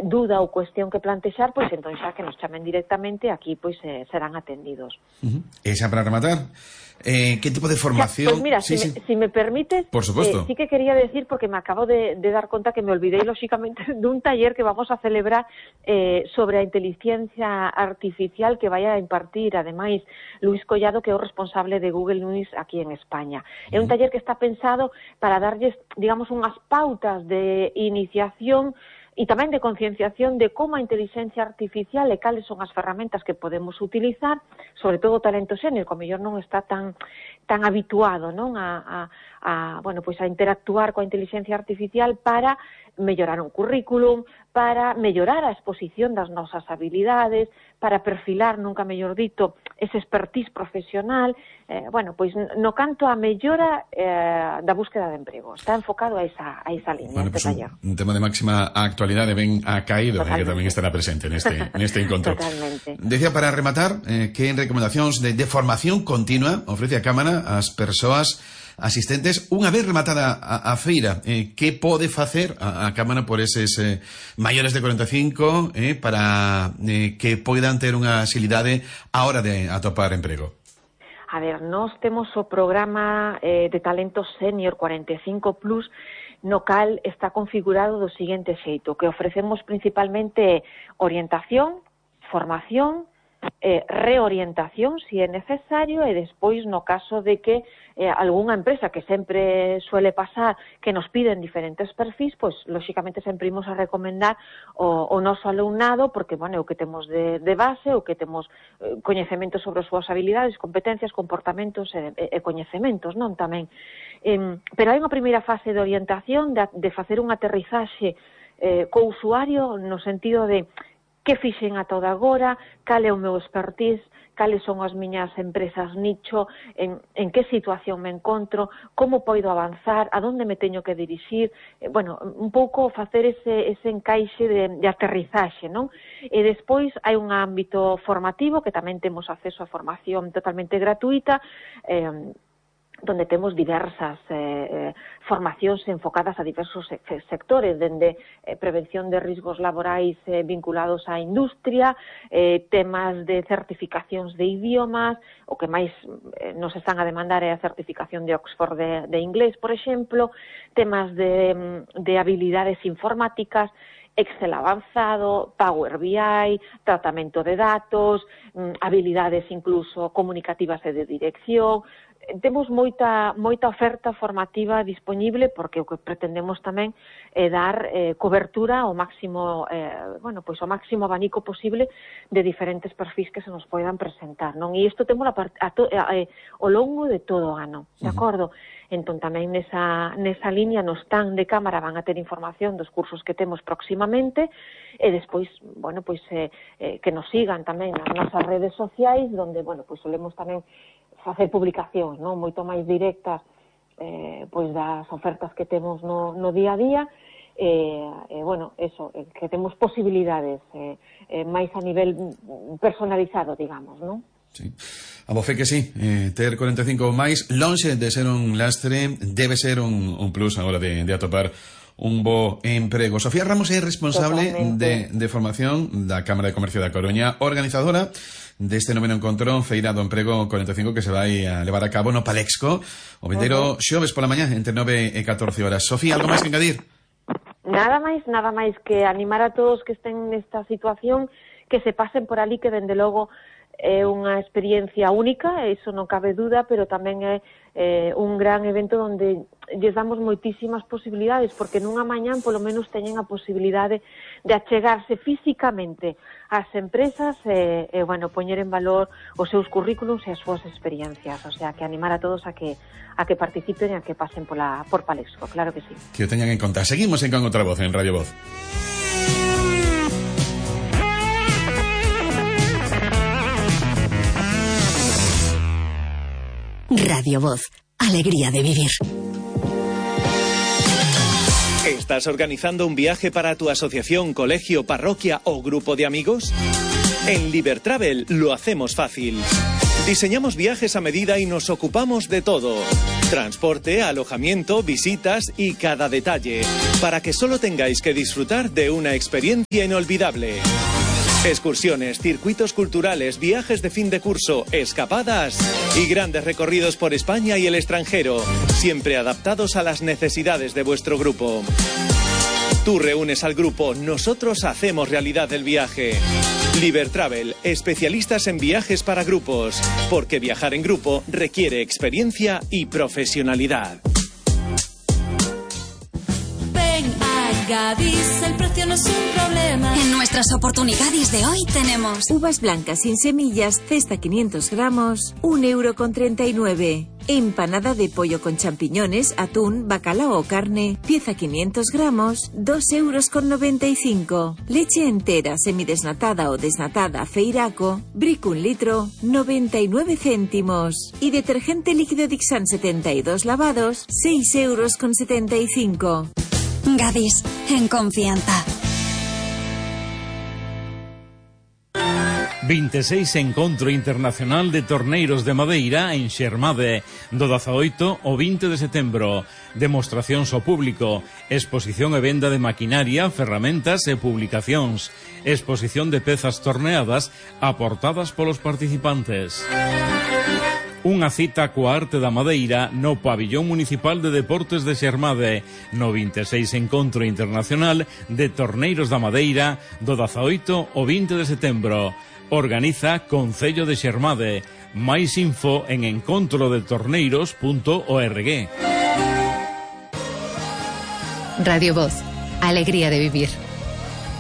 duda ou cuestión que plantexar, pois entón xa que nos chamen directamente, aquí pois serán atendidos. E xa para rematar, que tipo de formación? Pois mira, si me permites, por supuesto. Sí que quería decir, porque me acabo de dar conta que me olvidei lóxicamente dun taller que vamos a celebrar sobre a inteligencia artificial que vai a impartir, ademais, Luis Collado, que é o responsable de Google News aquí en España. É un taller que está pensado para darlles, digamos, unhas pautas de iniciación e tamén de concienciación de como a inteligencia artificial e cales son as ferramentas que podemos utilizar, sobre todo o talento sénior, que ao mellor non está tan habituado, non, bueno, pois a interactuar coa inteligencia artificial para mellorar un currículum, para mellorar a exposición das nosas habilidades, para perfilar, nunca mellor dito, ese expertise profesional, bueno, pois no canto a mellora da búsqueda de emprego. Está enfocado a esa liña, bueno, este taller. Un tema de máxima actualidade ben acaído, que tamén estará presente neste encontro. Totalmente. Decía, para rematar, que recomendacións de formación continua ofrece a Cámara ás persoas asistentes unha vez rematada a feira? Que pode facer a Cámara por eses maiores de 45 para que poidan ter unha axilidade a hora de atopar emprego? A ver, nós temos o programa de talento senior 45+, no cal está configurado do seguinte xeito, que ofrecemos principalmente orientación, formación, reorientación, se é necesario, e despois, no caso de que algunha empresa, que sempre suele pasar, que nos piden diferentes perfis, pois, lóxicamente, sempre imos a recomendar o noso alumnado, porque, bueno, o que temos de base, o que temos coñecementos sobre as súas habilidades, competencias, comportamentos e coñecementos, non, tamén. Pero hai unha primeira fase de orientación, de facer un aterrizaxe co usuario, no sentido de que fixen ata o de agora, cal é o meu expertise, cales son as miñas empresas nicho, en que situación me encontro, como poido avanzar, a donde me teño que dirixir, bueno, un pouco facer ese encaixe de aterrizaxe, non? E despois hai un ámbito formativo, que tamén temos acceso a formación totalmente gratuita, donde temos diversas formacións enfocadas a diversos sectores, dende prevención de riscos laborais vinculados á industria, temas de certificacións de idiomas, o que máis nos están a demandar é a certificación de Oxford de inglés, por exemplo, temas de habilidades informáticas, Excel avanzado, Power BI, tratamento de datos, habilidades incluso comunicativas e de dirección. Temos moita oferta formativa disponible, porque o que pretendemos tamén é dar cobertura ao máximo, bueno, pois ao máximo abanico posible de diferentes perfis que se nos poidan presentar, non? E isto temos ao longo de todo o ano, de acordo? Entón tamén nesa liña no stand de Cámara van a ter información dos cursos que temos próximamente, e despois, bueno, pois que nos sigan tamén nas nosas redes sociais, donde, bueno, pois solemos tamén facer publicacións, non, moito máis directas pois das ofertas que temos no día a día, bueno, eso, que temos posibilidades máis a nivel personalizado, digamos, non? Sí. A voce que sí, ter 45 máis, lonxe de ser un lastre, debe ser un plus a hora de atopar un bo emprego. Sofía Ramos é responsable de formación da Cámara de Comercio da Coruña, organizadora deste noveno encontro Feira do Emprego 45 que se vai a levar a cabo no Palexco o vindeiro xoves pola mañá entre 9 e 14 horas. Sofía, algo máis que engadir? Nada máis que animar a todos que estén nesta situación, que se pasen por ali, que dende logo é unha experiencia única, eso non cabe duda, pero tamén é un gran evento onde lles damos moitísimas posibilidades, porque nunha mañán polo menos teñen a posibilidade de achegarse físicamente ás empresas e bueno, poñer en valor os seus currículums e as súas experiencias, o sea, que animar a todos a que participen e a que pasen por Palexco, claro que sí. Que o teñan en conta. Seguimos en Con Outra Voz, en Radio Voz. Radio Voz, alegría de vivir. ¿Estás organizando un viaje para tu asociación, colegio, parroquia o grupo de amigos? En Libertravel lo hacemos fácil. Diseñamos viajes a medida y nos ocupamos de todo. Transporte, alojamiento, visitas y cada detalle, para que solo tengáis que disfrutar de una experiencia inolvidable. Excursiones, circuitos culturales, viajes de fin de curso, escapadas y grandes recorridos por España y el extranjero, siempre adaptados a las necesidades de vuestro grupo. Tú reúnes al grupo, nosotros hacemos realidad el viaje. Libertravel, especialistas en viajes para grupos, porque viajar en grupo requiere experiencia y profesionalidad. Ven a Gadis, el precio no es un problema. En nuestras oportunidades de hoy tenemos uvas blancas sin semillas, cesta 500 gramos, 1,39 €. Empanada de pollo con champiñones, atún, bacalao o carne, pieza 500 gramos, 2,95 €. Leche entera, semidesnatada o desnatada, Feiraco, Brick 1 litro, 99 céntimos. Y detergente líquido Dixan 72 lavados, 6,75 €. Gadis, en confianza. 26 Encontro Internacional de Torneiros de Madeira en Xermade, do 18 ao 20 de setembro. Demostracións ao público, exposición e venda de maquinaria, ferramentas e publicacións, exposición de pezas torneadas aportadas polos participantes. Unha cita coa arte da madeira no Pabillón Municipal de Deportes de Xermade, no 26 Encontro Internacional de Torneiros da Madeira, do 18 ao 20 de setembro. Organiza Concello de Xermade. Máis info en encontrodetorneiros.org. Radio Voz, alegría de vivir.